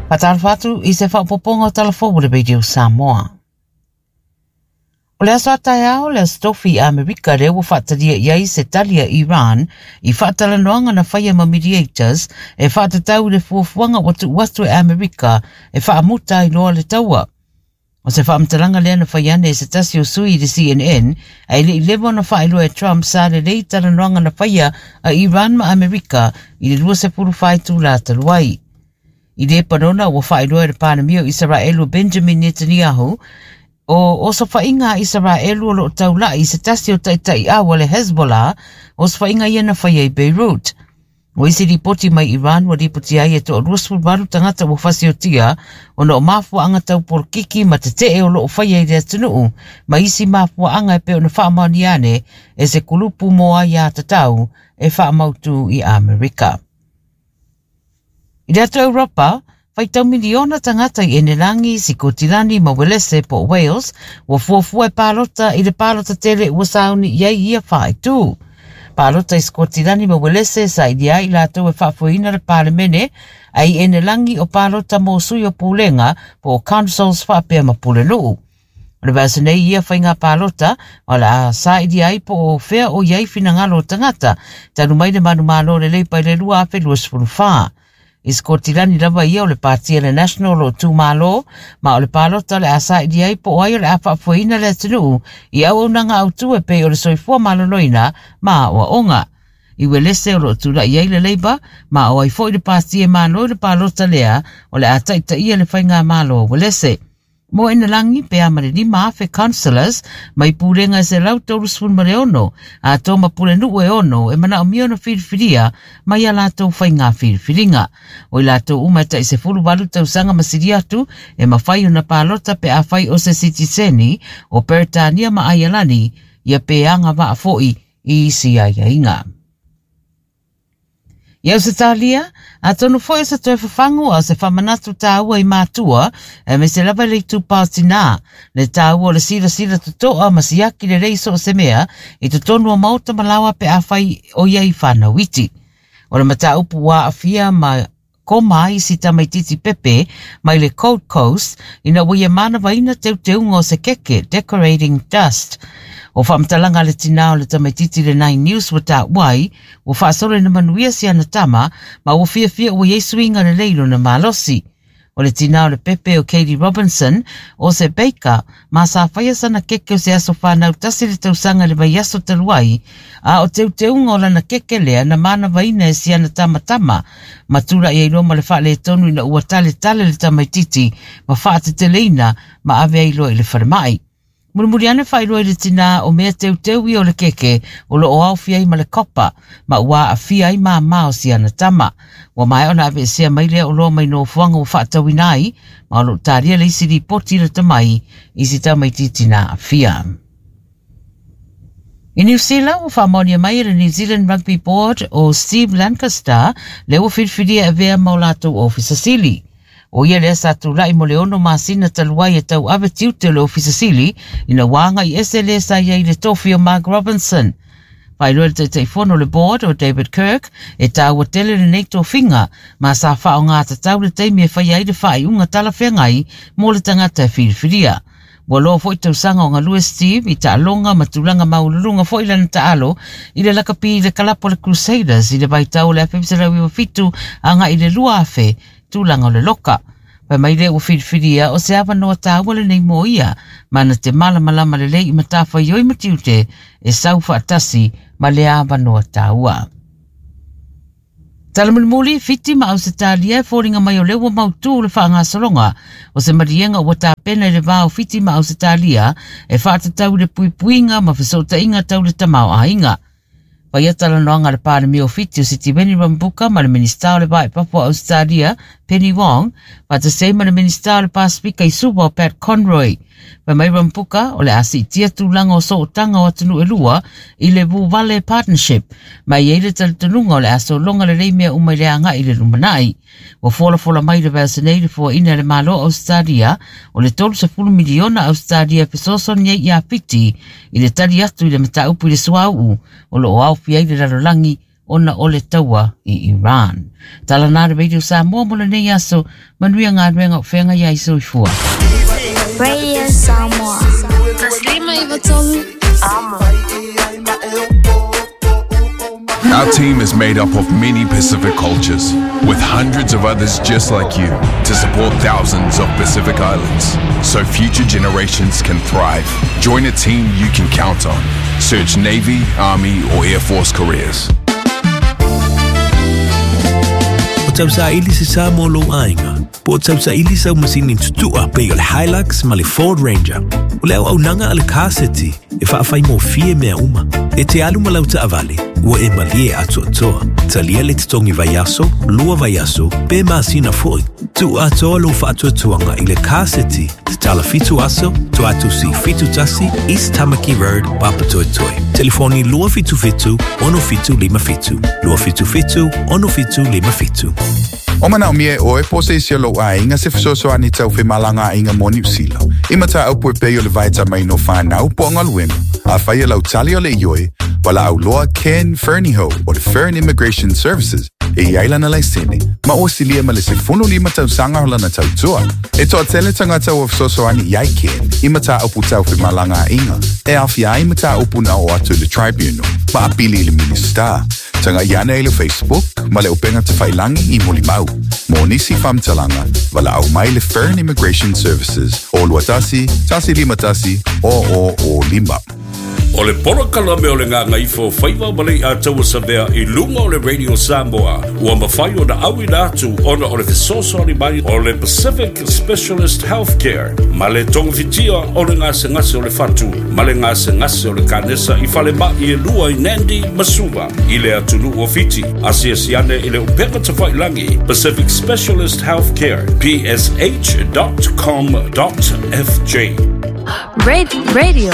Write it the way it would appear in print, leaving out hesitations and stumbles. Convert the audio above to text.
Faatalofa atu i se faaopoopoga o Tala Fou o le Radio Samoa. O le aso a taeao le aso Tofi i Amerika lea ua faatalia i ai se tali a Iran i faatalanoaga na faia ma mediators e faatatau i le fuafuaga ua tuu atu e Amerika e faamuta ai loa le taua. O se faamatalaga lea na fai ane e se tasi o sui i le CNN, ae le i leva ona faailoa e Trump sa lelei talanoaga na faia a Iran ma Amerika i le 24 itula talu ai. I Lepanona ua faailoa e le Palemia o Isaraelu Benjamin Netanyahu o osofaiga a Isaraelu o loo taulai i se tasi o taitaiau a le Hezbollah, osofaiga ia na faia i Beirut. O isi lipoti mai Iran ua lipoti ai e toa 28 tagata ua fasiotia ona o mafuaaga tau polokiki ma tetee o loo faia i le atunuu ma isi mafuaaga e pei ona faamaonia ane e se kulupu mo aiatatau e faamautu i Amerika. I le atu Europa, faitau miliona tagata i Enelangi, Sikotilani ma Welese po o Wales ua fuafua e palota i le palota tele ua sauni i ai ia faaitu. Palota i Sikotilani ma Welese sailia ai latou e faafoeina le Palemene, a i Enelangi o palota mo sui o pulega po o councils faapea ma pulenuu. O le vaiaso nei ia faiga palota o le a sailia ai po o fea o i ai finagalo o tagata talu mai le manumalo le Leipa i le 2024. I Sikotilani lava ia o le pāti a le National o tūmalo, ma o le palota o le a sailia ai po o ai o le a faafoeina le atunuu i auaunaga autu e pei o le soifua maloloina ma aoaoga. I Welese o loo tula'i ai le Labour, ma o ai foi le pāti e malo i le palota lea o le a taitaia le faigamalo a Welese. Mo Enelangi pe a ma le 5,000 councillors mai pulega e 136 atoa ma pulenuu e 6 e manaomia ona filifilia mai a latou faiga filifiliga. O i latou uma e tai 18 tausaga ma sili atu e mafai ona palota pe afai o se sitiseni o Peretania ma Aialani ia pe agavaa foi i isi aiaiga. I Ausetalia, atonu foi o se toe fafagu a o se faamanatu tāua i mātua, aemaise lava i le itupa o tinā, le tāua o le silasila totoa ma siaki lelei so o se mea i totonu o maota ma laoa pe afai o i ai whānau iti. O le mataupu ua aafia ma koma ai si tamaitiiti pepe mai le Gold Coast ina ua ia manavaina teuteuga o se keke, decorating dust. O faamatalaga a le tinā o le tamaitiiti le Nine News ua taua ai, ua faasolo ina manuia si ana tama ma ua fiafia ua i ai suiga lelei lona malosi. O le tinā o le pepe o Katie Robinson, o se baker, ma sa faia sana keke o se aso whānau tasi le tausaga i le vaiaso talu ai, a o teuteuga o lana keke lea na manavaina e si ana tamatama, ma tula'i ai loa ma le faaletonu ina ua taletale le tamaitiiti ma faateteleina ma ave ai loa i le falemai. Mulimuli ane faailoa i le tinā o mea teuteu ia o le keke o loo aofia ai ma le kopa, ma ua aafia ai māmā o si ana tama. Ua maea ona aveesea mai lea oloa mai nofoaga ua faatauina ai, ma o loo talia le isi lipoti lata mai i si tamaitiiti na aafia. I Niu Sila, ua faamaonia mai e le New Zealand Rugby Board o Steve Lancaster lea ua filifilia e avea ma o latou ofisa sili. O ia lea sa tula'i mo le 6 masina talu ai e tauave tiute o le ofisa sili ina ua agai ese le sa i ai i le tofi o Mark Robinson. Faailoa le Taitaifono o le board o David Kirk e tāua tele lenei tofiga ma sa faaaoga tatau le taimi e faia ai le faaiuga talafeagai mo le tagata e filifilia. Ua loa foi tausaga o galue Steve i taaloga ma tulaga maualuluga foi lana taalo i le lakapi i le kalapu a le Crusaders i le vaitau o le 1997 agai i le 2000 tulaga o le loka. Fai mai lea ua filifilia o se avanoa tāua lenei mo ia, ma na te malamalama lelei i matafaioi ma tiute e sau faatasi ma le avanoa tāua. Tala mulimuli, Fiti ma Ausetalia e foliga mai o lea ua mautū le faagasologa o se maliega ua tapena i le va o Fiti ma Ausetalia e faatatau i le puipuiga ma fesootaiga tau le tamaoaiga. Faia talanoaga a le Palemia o Fiti o Sitiveni Rabuka ma le Minisita o le Va i Fafo o Ausetalia, Penny Wong, faatasi ai ma le Minisita o le Pasefika i Suva o Pat Conroy. Fai mai Rabuka o le a siitia tulaga o sootaga o atunuu e lua i le Vuvale Partnership, ma e i ai le talitonuga o le a sologa lelei mea uma i le agai i le lumanai. Ua folafola mai le vaiaso nei le fuaina e le Malo o Ausetalia o le 30 miliona Ausetalia e fesoasoani ai ia Fiti i le tali atu i le mataupu i le suauu o loo aofia ai le lalolagi ona o le taua i Iran. Tala na le Radio Samoa mo lenei aso, manuia galuega o feagai ai soifua. Radio Samoa. 153 Amo. Our team is made up of many Pacific cultures, with hundreds of others just like you to support thousands of Pacific Islands so future generations can thrive. Join a team you can count on. Search Navy, Army, or Air Force careers. O tausaili se sa mo lou aiga, po o tausaili sau masini tutua pei o le Hilux ma le Ford Ranger. O le auaunaga a le Car City e faafaigofie mea uma. E te alu ma lau taavale, ua e malie atoatoa. Talia le totogi vaiaso, 2 vaiaso, pe masina foi. Tuu atoa lou faatuatuaga i le Car City, tatala 7 aso, Tuatusi 71, East Tamaki Road, Papatoetoe. Telefoni 277 6757, 277 6757. O manaomia e oe po o se isi o lou aiga se fesoasoani tau femalagaaiga mo Niu Sila i mataupu e pei o le vaetamaina o fanau po o galuega. Afai o lau tali o le ioe, valaau loa Ken Fernihough o le Fern Immigration Services e i ai lana laisene ma ua silia ma le 15 tausaga o lana tautua. E toatele tagata ua fesoasoani i ai Ken i mataupu tau femalagaaiga e aofia ai mataupu na oo atu i le Tribunal ma apili i le Minisita. Tagai ane i le Facebook ma le upega tafailangi i Molimau. Mo nisi faamatalaga, valaau mai le Fern Immigration Services o 21 151 0005. O le polokalame o le Gagaifo Faiva ma Leiataua Savea i luga o le Radio Samoa ua mafai ona auina atu ona o le fesoasoani mai o le Pacific Specialist Healthcare ma le togafitia o le gasegase o le fatu ma le gasegase o le kanesa i falemai e lua i Nandi ma Suva i le atunuu o Fiti. Asiasi ane i le upega tafailagi Pacific Specialist Healthcare psh.com.fj. Radio.